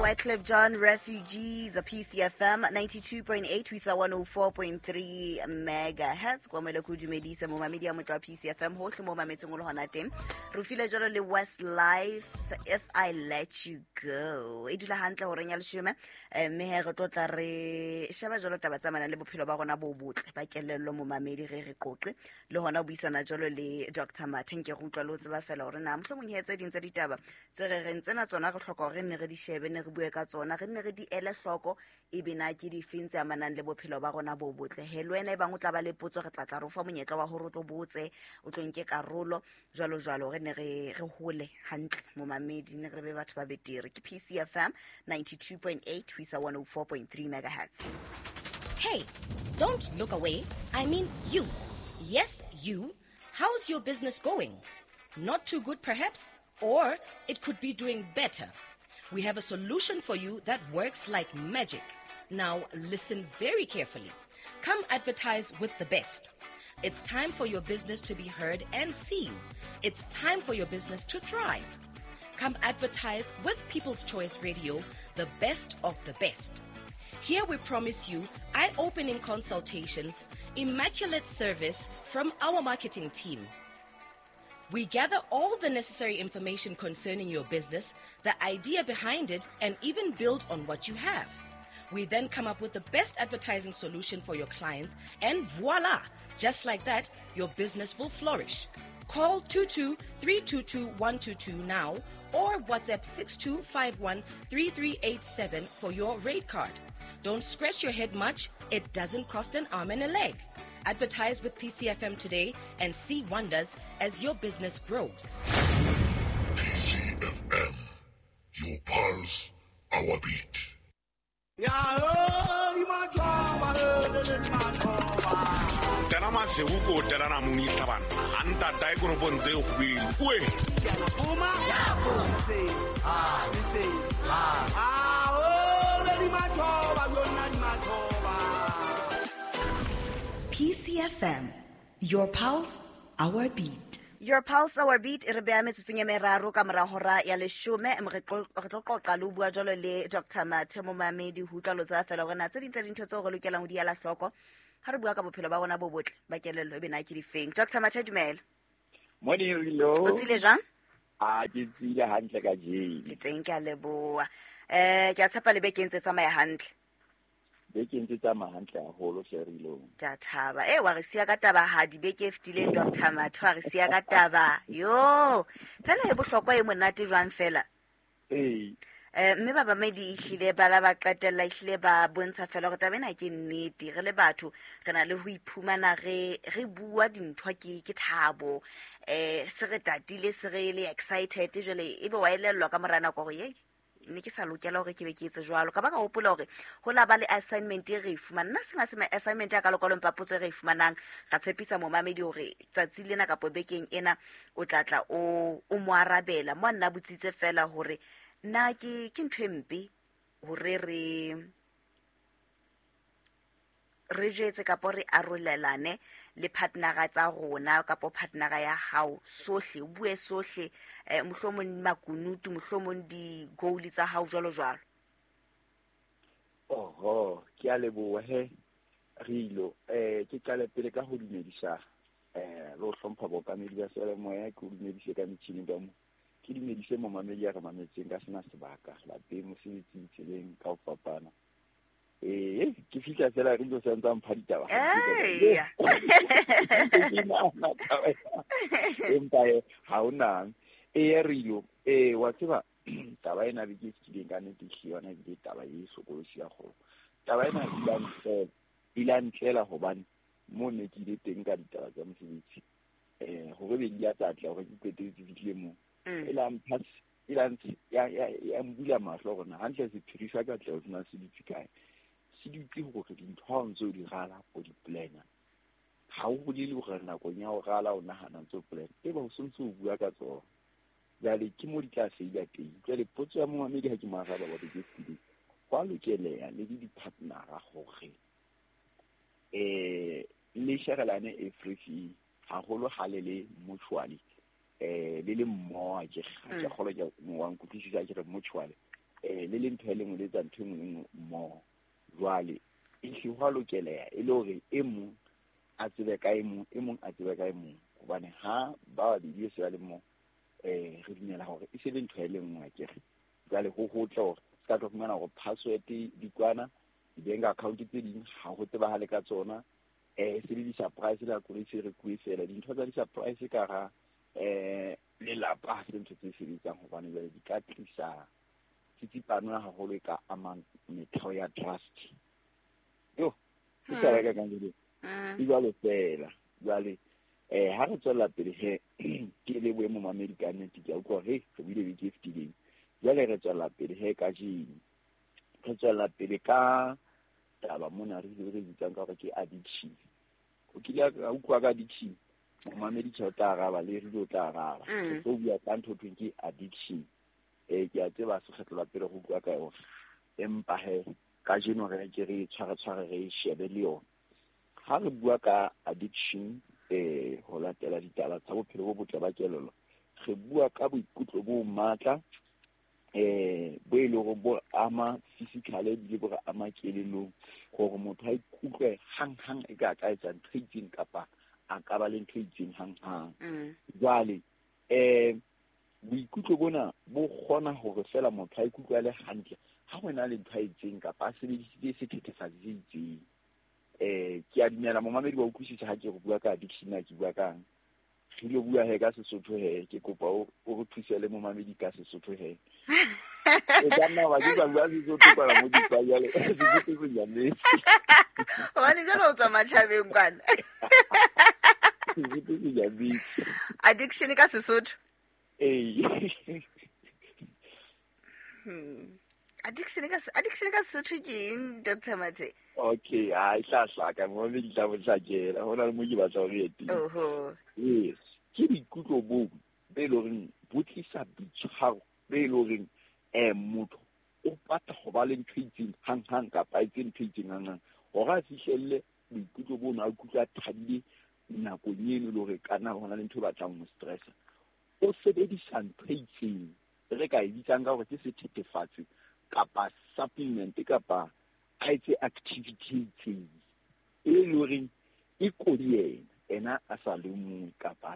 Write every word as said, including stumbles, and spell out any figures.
Wyclef Jean, Refugees, P C F M ninety-two point eight, ho isa one oh four point three megahertz. Kwa moele ko dumedisa momamedi ya motho wa P C F M hohle mo mametseng o le hona teng. Re file jalo le Westlife, If I Let You Go. E dula hantle horeng ya leshome, eh, mme he re tlo tla re sheba jalo taba tsa manang le bophelo ba rona bo botle ba kelello momamedi, re re qoqe le hona ho buisana jalo le Doctor Mathe. Nke re utlwa le ho tseba fela hore na mohlomong he tse ding tsa ditaba tse re reng tsena tsona re hloka hore ne re di shebe, ne re bue ka tsona, re nne re di ele hloko, ebe na ke difeng tse amanang le bophelo ba rona bo botle. He le wena e bang o tla ba le potso, re tla tla re o fa monyetla wa hore o tlo botse, o tlo nke karolo jwalo jwalo, re ne re re hole hantle momamedi, ne re be batho ba betere. Ke P C F M ninety-two point eight ho isa one oh four point three megahertz. Hey, don't look away. I mean you. Yes, you. How's your business going? Not too good, perhaps? Or it could be doing better. We have a solution for you that works like magic. Now listen very carefully. Come advertise with the best. It's time for your business to be heard and seen. It's time for your business to thrive. Come advertise with People's Choice Radio, the best of the best. Here we promise you eye-opening consultations, immaculate service from our marketing team. We gather all the necessary information concerning your business, the idea behind it, and even build on what you have. We then come up with the best advertising solution for your clients, and voila! Just like that, your business will flourish. Call two two three two two one two two now or WhatsApp six two five one three three eight seven for your rate card. Don't scratch your head much. It doesn't cost an arm and a leg. Advertise with P C F M today and see wonders as your business grows. P C F M, your pulse, our beat. P C F M, your pulse, our beat. Your pulse, our beat. E re beha metsotsong e meraro ka mora hora ya leshome. Re tlo qoqa le ho bua jwalo le Doctor Mathe momamedi, ho utlwa lo tseba fela hore na tse ding tsa dintho tseo re lokelang ho di ela hloko ha re bua ka bophelo ba rona bo botle ba kelello, ebe na ke difeng. Doctor Mathe, dumela. Morning, Rilo. O tsile jwang? Ah, ke tsile hantle ka jeno. Ke teng, ke a leboha. Eh, ke a tshepa le beke e ntse tsamaya hantle. Beke ntse tsamaya hantle haholo hle, Rilo. Ke a thaba. Eh, wa re siya ka taba ha dibeke e fetileng, Doctor Mathe, wa re siya ka taba. Yo, fela e bohlokwa e monate jwang fela. Ee. Eh, mme ba bamedi ehlile ba la ba qetella, ehlile ba bontsha fela hore taba ena ke nnete. Re le batho re na le ho iphumana re re bua dintho ke ke thabo. Eh, se re tatile, se re le excited jwale ebe wa elellwa ka mora nako hore ye ne ke sa lokela hore ke be ke etse jwalo. Ka ba ka hopola hore ho la ba le assignment e re e fumanang. Nna sena se assignment ya ka lokolong papotso e re e fumanang, ra tshepisa momamedi hore tsatsi lena kapo bekeng ena o tla tla o o mo arabela. Mo nna botsitse fela hore na ke ke ntho e mpe hore re re jwetse kapo re arolelane le partnera tsa rona kapo partnera ya hao sohle, o bue sohle, eh, mohlomong makunutu, mohlomong di-goal tsa hao jwalo jwalo. Oho, ke a leboha he, Rilo. Eh, ke qale pele ka ho dumedisa eh le ho hlompha bookamedi ba seyalemoya, ke ho dumedise ka metjhini ka mo. Ke dumedise momamedi ya re mametseng ka sena sebaka lapeng, mosebetsing, tseleng ka ho fapana. Eh, ke fihla fela re ntse santsa mpha ditaba. Eh. Empa ha ona. Eh, Rilo, eh wa tseba taba ena be ke kileng ka nnete ke yona ebile taba e hlokolosi ya kgolo. Taba ena e la ntlela, e la ntlela hobane mo ne ke ile teng ka ditaba tsa mosebetsi. Eh, hore be di a tlatla hore ke qetetse fihlile mo. E la mpha, e la ntse ya ya mbula mahlo hore na hantle sephiri sa katleho sena se dutse kae. Se dutse hore dintho ha o ntse o di rala, o di plana. Ha o bolele hore nakong ya ho rala o nahana ntse o plan, eba o sontse o bua ka tsona. Jwale ke mo di tla feila teng. Jwale potso ya momamedi ha ke mo araba wa beke e fetileng, ho a lokeleha le le di-partnera hore eh le sherelane everything, haholo ha le le mutually. Eh le le mmoho, ke ke kgolwa ke wa nkutlwisisa ke re mutually. um le le ntho e le nngwe le etsa ntho e nngwe le nngwe mmoho. Jwale e hle ho a lokeleha e le hore e mong a tsebe ka e mong, e mong a tsebe ka e mong, hobane ha ba babedi e se ba le mmoho um re dumela hore e se le ntho e le nngwe akere. Jwale ho hotle hore se ka tlo fumana hore password di kwana, di-bank account tse ding ha ho tsebahale ka tsona, um se le di-surprise le ha koloi se rekuwe fela. Dintho tsa di-surprise ka hara um lelapa ha se ntho tse sebetsang, hobane jwale di ka tlisa tsitsipano haholo e ka amang metheo ya trust. Yo, ke taba e ka kang jwale. E jwalo fela. Jwale eh ha re tswella pele he, ke le boemo mamedi ka nnete, ke a utlwa hore re buile beke e fetileng. Jwale re tswella pele he kajeno, re tswella pele ka taba mona re re bitsang ka hore ke addiction. O kile a utlwa ka addiction, momamedi tjhe o tla araba, le re o tla araba. Re tlo bua ka ntho thweng ke addiction. Eh ke a tseba se kgetlo la pele go bua ka yona, empa he kajeno re ke re tshware tshware re shebe le yona. Ha re bua ka addiction, eh ho latela ditaba tsa bophelo bo botle ba kelello, re bua ka boikutlo bo matla eh bo e leng hore bo ama physically ebile bo re ama kelellong, hore motho a ikutlwe hang-hang e ka ka etsa ntho e itseng kapa a ka ba le ntho e itseng hang-hang. Jwale eh boikutlo bona bo kgona hore fela motho a ikutlwe a le hantle ha ho na le ntho a itseng kapa a sebedisitse sethethefatsi se itseng. Eh ke a dumela momamedi wa utlwisisa ha ke re bua ka addiction, na ke bua kang? Re lo bua he ka Sesotho he, ke kopa o re thuse le momamedi ka Sesotho he. E ka nna wa ke ba bua Sesotho kwana mo di jwale, Sesotho se nyametse. Hobane jwale o tswa matjhabeng kwana. Sesotho se nyametse. Addiction ka Sesotho? Ee. Hmm. Addiction ka addiction ka Sesotho ke eng, Doctor Mathe? Okay, ha e tla hlaka momamedi tla bo hlakela, ho na le mo ke batla hore ye teng. Oho. Yes, ke boikutlo bo be e leng horeng bo tlisa boitshwaro be e leng horeng eh motho o batla ho ba le ntho e itseng hang-hang kapa a etse ntho e itseng hang-hang hore a fihlelle boikutlo bono, a ikutlwe a thabile nakong eno e le hore ka nna ho na le ntho e batlang ho mo stressa. O sebedisa ntho e itseng re ka e bitsang ka hore ke sethethefatsi kapa supplement kapa a etse activity e itseng e leng horeng e kodi yena, ena a sa lemohe kapa a